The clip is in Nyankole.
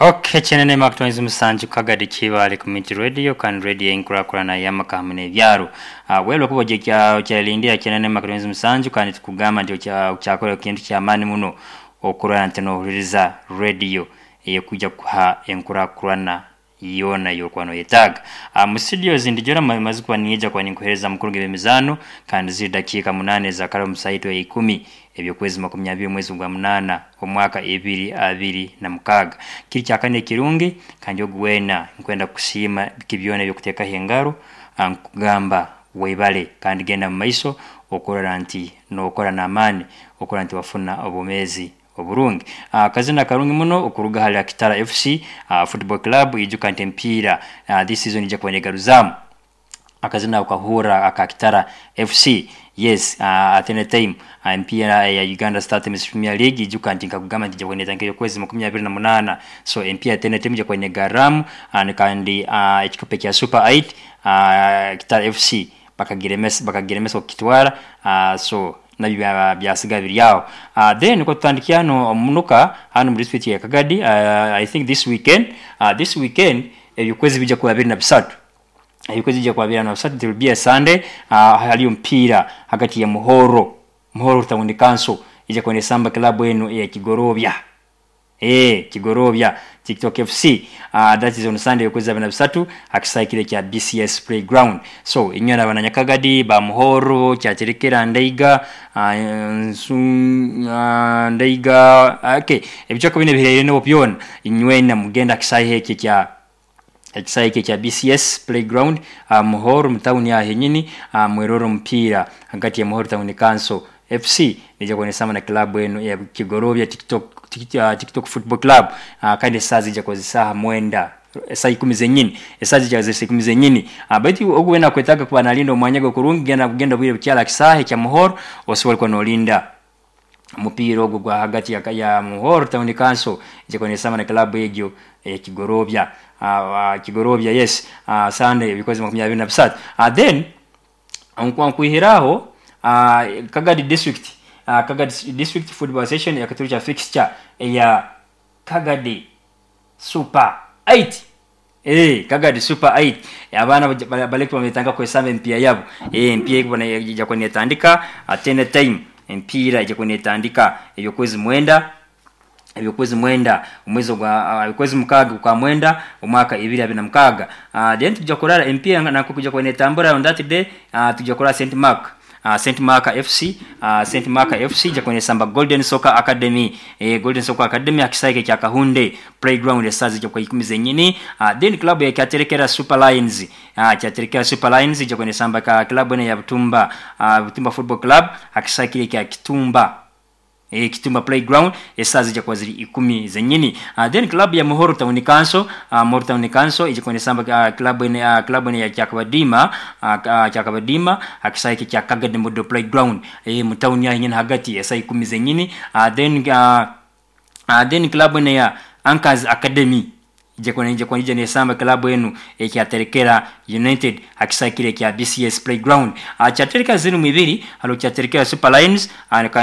Okay, Chenene Mark Twain Musanju Kagadi Kibale Community Radio kandi radio enkurakurana y'amaka hamwe n'ebyaro. Wewe kuba kya kyalindia Chenene Mark Twain Musanju kandi tukugamba nti okyakora kintu ky'amaani muno okurora nti nohuririza radio eyekujja kuha enkurakurana yoona yokuba noyetaaga. Mu studio zindijora maze kuba niija kuba ninkuheereza mukuru g'ebyemizaano kandi ziri dakiika 8 za kara omu saaha ya 10 eby'okwezi 20 omwezi gwa 8 omwaka 2026. Kiri kyakane ekirungi kandi ogu weena nkwenda kukusiima biki byona ebyokuteekaho engaro, nkugamba weebale kandi genda mu maiso okurora nti nookora n'amaani okurora nti wafuna obwomeezi oburungi. Akazina karungi muno okuruga hali Akitara FC Football Club. Ijuka nti emipiira this season ija kuba neegaruzaamu. Akazina ako okahurra aka Kitara FC. Yes, at any time emipiira eya Uganda Star Times Premier League, ijuka nti nkakugamba nti ija kuba neetandika ey'okwezi 28. So emipiira at any time ija kuba neegarramu kandi ekikopo ekya Super 8, Kitara FC bakagiremesa okukitwara, so nabyo byasigara biri aho. Then kotutandikira hanu omunuka hanu mu district ya Kagadi, I think this weekend ebyokwezi bijja kuba 23, ebyokwezi bijja kuba 23. It will be a Sunday. Haliyo omupiira hagati ya Muhoro Town Council ija kuba nesamba club enu eya Kigorobya, Kigorobya TikTok FC. That is on Sunday okwezi 23 hakisaayi kire kya BCS Playground. So inywe abananyakagadi ba Muhoro, Kyaterekera, Ndeiga, Ndeiga, okay, ebicweka binu ebihereraineho byona, inywena mugenda hakisaayi eki ekya ekisaayi eki ekya BCS Playground, Muhoro mu tawuni aho henyini, mwerore omupiira hagati ya Muhoro Town Council FC neija kuba nesamba na club enu eya Kigorobya TikTok Football Club, kandi esaaha ziija kuba ziri saaha 9, esaaha 10 zenyini, esaaha ziija kuba ziri 10 zenyini. Baitu ogu weena akwetaaga kuba nalinda omwanya gwe kurungi, genda genda obwire bukyali aha kisaahe kya Muhoro osobole kuba noolinda omupiira ogwo gwa hagati ya Muhoro Town Council ija kuba nesamba na club egyo eya Kigorobya, Kigorobya, yes, Sunday ebikozi 23. Then nkwihiraho Kagadi District Football Association yakaturukya fixture eya Kagadi Super 8. Kagadi Super 8, abaana baleke bametanga kwesamba emipiira yabo. Emipiira ekuba ija kuba netandika at any time. Emipiira ija kuba netandika ebyokwezi 9, ebyokwezi 9 omwezi ogwa okwezi 6 kwa 9 omwaka 2026. Then tujja kurara emipiira nako kuja kuba netambura on that day. Tujja kurara St Mark FC, St Mark FC ija kuba nesamba Golden Soccer Academy, Golden Soccer Academy hakisaayi kya Kahunde Playground, esaaha zijja kuba 10 zenyini. Then club ya Kyaterekera Super Lions, Kyaterekera Super Lions ija kuba nesamba ka club eno ya Butumba Football Club hakisaayi kiri kya Kitumba Playground, esaaha zijja kuba ziri 10 zenyini. Then club ya Muhoro Town Council, Muhoro Town Council ija kuba nesamba club ene ya Kyakabadima hakisaayi kya Kagadi Model Playground, mu town ya nyine hagati, esaaha 10 zenyini. Then club ene ya Anchors Academy ija kuba ija nesamba club enu ekyaterekera United hakisaayi kire kya BCS Playground. Kyaterekera ziri mu ibiri, hariho Kyaterekera Super Lions.